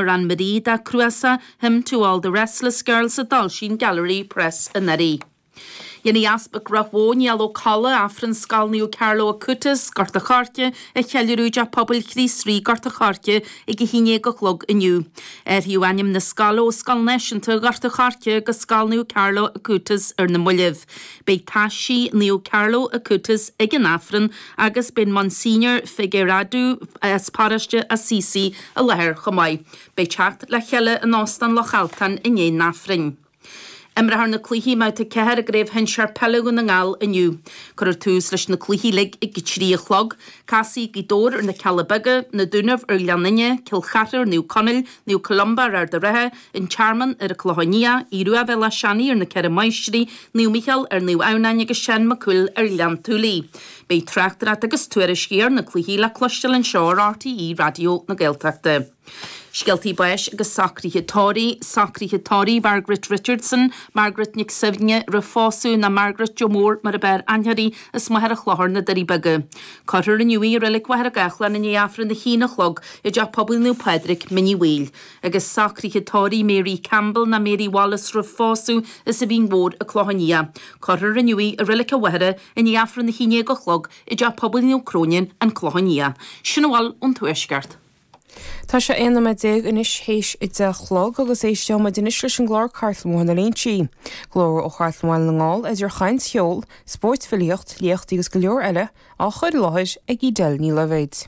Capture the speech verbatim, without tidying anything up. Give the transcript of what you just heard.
Anne-Marie dá cnuasach Hymn to All the Restless Girls a d'fhoilsigh an Gallery Press anuraidh. Dhéanfaidh Easpag Ráth Bhoth Niall Ó Colla Aifreann Scoil Naomh Carlo Acutis, Gort a' Choirce a cheiliúradh i dTeach Pobail Chríost Rí Gort a' Choirce ag a haon déag a chlog inniu. Athraíodh ainm na scoile ó Scoil Náisiúnta Ghort a' Choirce go Scoil Naomh Carlo Acutis ar na moillibh. Beidh taisí Naomh Carlo Acutis ag an Aifreann agus beidh Monsignor Figueiredo as paróiste Assisi i láthair chomh maith. Beidh teacht le chéile in Óstán Loch Altan i ndiaidh an Aifrinn. Imreofar na cluichí mbabhta ceathair i gCraobh Shinsir Peile Dhún na nGall inniu. Cuirfear tús leis na cluichí uilig ag a trí a chlog. Casfaidh Gaoth Dobhair ar na Cealla Beaga, Na Dúnaibh ar Ghleann Fhinne, Cill Chartha ar Naomh Conaill, Naomh Columba ar Ard an Rátha, An Tearmann ar an Clochán Liath, Aodh Rua Bhéal Átha Seanaidh ar na Ceithre Máistrí, Naomh Mícheál ar Naomh Adhamhnáin agus Seán Mac Cumhaill ar Ghleann tSúilí. Beidh tráchtaireacht agus tuairiscí ar na cluichí le cloisteáil anseo ar RTÉ Raidió na Gaeltachta. Scéaltaí báis agus socruithe tórraimh, socruithe tórraimh Margaret Richardson, Margaret Nic Suibhne roimh phósadh ná Margaret Joe Mór mar ab fhearr aithne uirthi as Machaire Chlochair na Doirí Beaga. Cuirfear inniu í i Reilig Mhachaire Gathlán i ndiaidh Aifreann a haon a chlog i dTeach Pobail Naomh Pádraig, Mín Uí Bhaoill. Agus socruithe tórraimh Mary Campbell ná Mary Wallace roimh phósadh as an Mhín Mhór, An Clochán Liath. Cuirfear inniu í i Reilig an Mhachaire i ndiaidh Aifreann a haon déag a chlog i dTeach Pobail Naomh Cróinín, An Clochán Liath. Sin a bhfuil ón Tuaisceart. Tá sé aon nóiméad déag anois théis a deich a chlog agus éisteoidh muid anois leis an gclár Cartlann Bhóthar na Léinsí. Glór ó Chartlann Bhaile na nGall idir chaint cheol, spóirt filíocht, léachtaí agus go leor eile á chur i láthair ag Edel Ní Loibhéid.